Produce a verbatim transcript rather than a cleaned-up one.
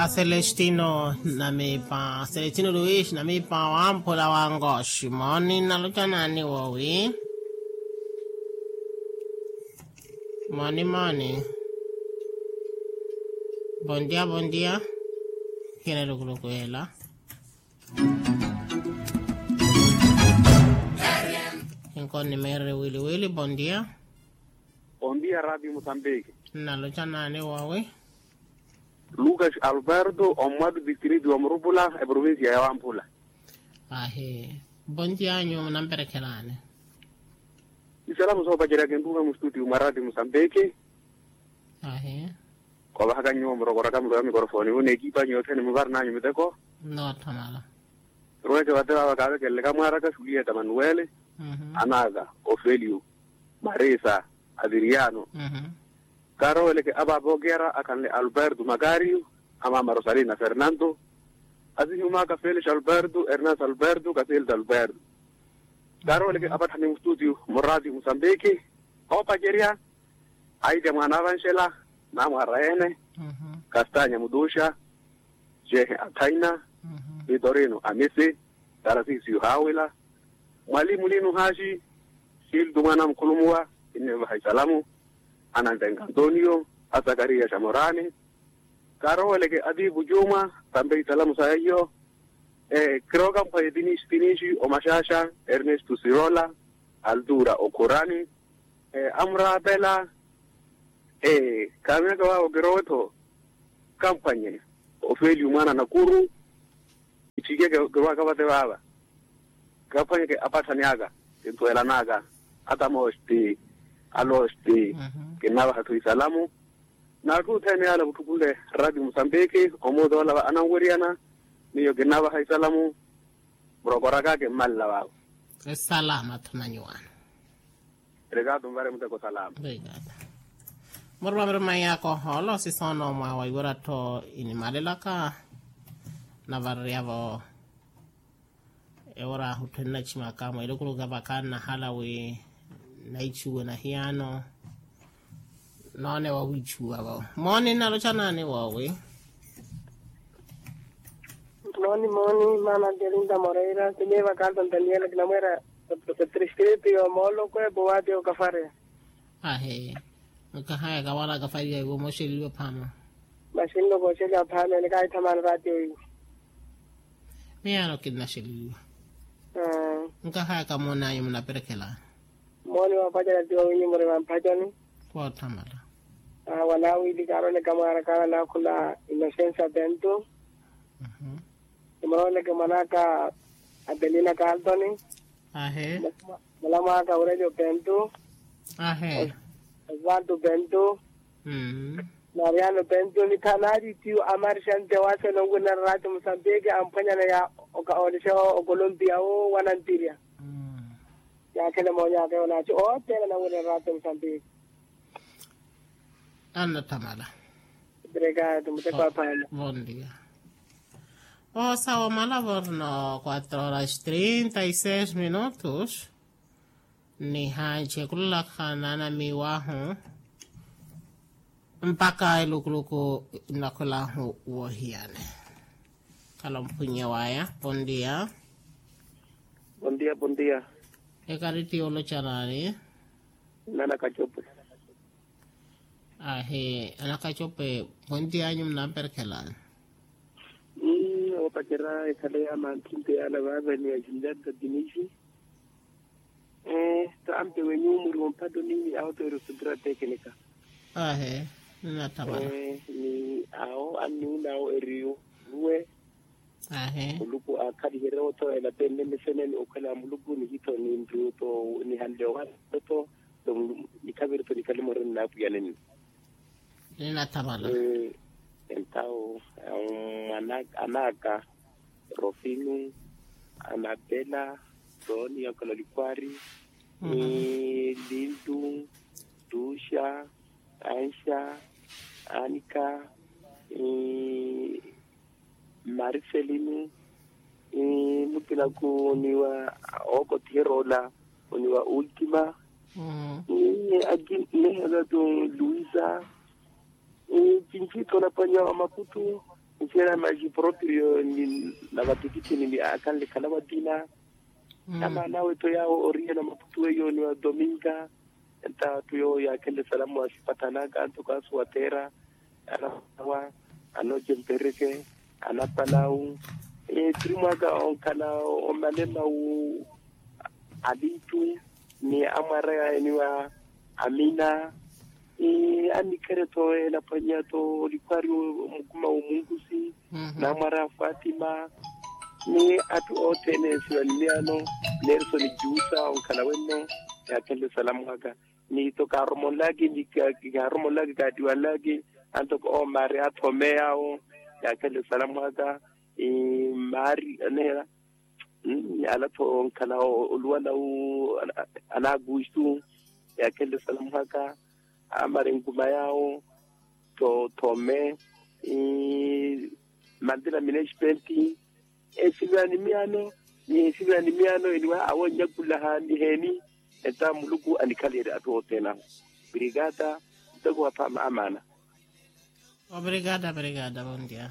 Celestino namipa celestino luis namipa wamphula wa ngoxi mooni naloca naani woowi? Mooni mooni. Bondia bondia. Kina lukuluku ela. Inko nimeerere wili wili bondia. Bondia radio musambiki. Naloca naani woowi? Lucas alberto ommwatu distrito wa murupula eprovincia ya wamphula. Ahi. Bondia anyu munamperekhelaani? Isalamu soopacerya kintuuka mustuti mwa radio musambiki. Ahi. Koovahakanyu murokoraka mulo ya mikorofoni wu n'ekipa anyu yothene muvarinanyu miteko. Noothamala. Rweke vate vava kaavekelele kamwaaraka sulieta manuwele. Anaaka ofelio, marisa, adiriano. Kaaroweleke apaapa okera akhanle alberto makario, amaama rosalina fernando, asihimwaaka felix alberto, ernesto alberto, kasilda alberto. Kaaroweleke apatthani mustutio muraati musambiki, oopacerya aitya mwaana avanxela, namwaara ene, kastanya mutuxa, jehe athaina, vitorino amisi, tarasisio haawila, mwalimu lino haaxi, siltu mwaana mukhulumuwa, kinnivaha isalamu, anantenka antonio, asakariya xamorani. Kaaroweleke atiipu cuuma, tampe isalamu sa yaiyo. Kirooka mphwaye tinixi tinixi omaxaxa, ernesto sirola, altura okhurani, amuraapela. Khaamiyaka waavo kirowe-tho, kamphwanye ofelio mwaana nakuru. Itthike kirwaka vate vaava, kaphwanyeke apatthani aka, kinthuwelanaka, atamosti, alosti, kinnavaha-tho isalamu. N'atthu othene yaala vutthukule radio musambiki, omuuta ola va ananweriyana, miyo kinnavaha isalamu. Murokoraka kimmalela vaavo. Esalama-tho na nyuwaano. Rikaatu muvare muteko salama. Muruma miruma yakohoolo sisoono mwa waiwera-tho inimalelaka. Navareryavo ewera ahutthu ennachimaka mweelukuluku kapakha nnahala wi naichuwe na hiyaano. Noone wawiichuwavo mooni nnaloca naani woowi? Mooni mooni maana adelinda moreira kiniivaka alton daniela kinamweera. Etriskritu yo moolokwe powaati okafareya. Ahe. Nkahayaka wala akafariya iwo mooxeliwa phaama. Maxinno kooxeliwa phaama ene kaahithamani raatiyo iwo. Miyaano kinnaxeliwa. Nkahayaka moonanyu munaperekhelani? Mooni woopacerya tiwo winyu muri vamphatyoni. Woothamala. Wanaawili kaaroleka mwaarakaana naakhula inosensa pento. Nimuroweleke mwan'aka, apelina kaltoni. Ahe. Mulamw'aka aurelio pento. Ahe. Osvaldo pento. Mariano pento ni thanari tiyo amarixante waase nonkwinera rati musambiki amphwanyana ya. Olishewa okolompia wo wanantirya. Yaakhele moonyaka yoonaci othene ananwinera rati musambiki. Annathamala. Obrigado muteko aphama. Bondia. Osawa omala vorno quatro horas trinta y seis minutos. Nihanci ekulolakha naanamiwahu mpakha elukuluku nnakhulahu woohiyani. Khala omphunye waya. Bondia. Bondia bondia. Ekari ti oloca naani? Nana kacope. Ahi. Ana kacope. Bondia anyu munamperekhelani? Oopacera ekhale ya manthinto yaala vaavani ya junior tatinisi. Taampe wenyu muri ompatoni awo peerosutura tekenika. Ahi. Ninattamana. Ni awo anniwuna awo eriyo. Ruwe. Ahi. Muluku aakhaliherye othowelela pene meseneni okhwela muluku nihitho ninriyo tho nihanle owanelo tho. Nikhaviri tho nikhalimoreni naapwiyaneni. Ninattamana. Entawo mwanaka anaka, rofinu, anapela, toni yakola likwari, ni lindu, tuxa, anxa, anika, ni mariselinu, ni mukinaku oniwa, okotiheroola, oniwa ultima. Ni aki nehela tu luisa. Ni cinci tona panya wa maputu. Nsiya na maji proprio ni na vatikithini ni akhanle khala vatina. Amaana awe tho yawo oriye na maputu eyo ni wa dominga. Enta atthu yowo yaakhenle salamu wa sipathanaka antoko asuwathera, anawa, anoce mpereke, anapalawu. Tiri mwaka onkhala omalema wu alitu ni amwara yaeniwa amina. Anikhere tho elaphwanya tho olikwari mukuma womunkusi, namwara fatima, ni atthu othene esiwa ni miyano. Nersoni jusa onkhala wenno, yaakhenle salamu aka. Ni tho kaaromonlaki ni kaaromonlaki kaatiwanlaki, antoko omari athome yawo, yaakhenle salamu aka. Mari anehera, ala tho onkhala oluwana wu, ana agustu, yaakhenle salamu aka. Amari nkuma yawo, tho thome, mantila minespenti, esivira ni miyano, ni esivira ni miyano eniwa awo onyakulaha ni heni. Enta muluku anikhaliyerye atthu othene awo. Brigada, ntoko waphama amaana. Obrigada brigada bondia.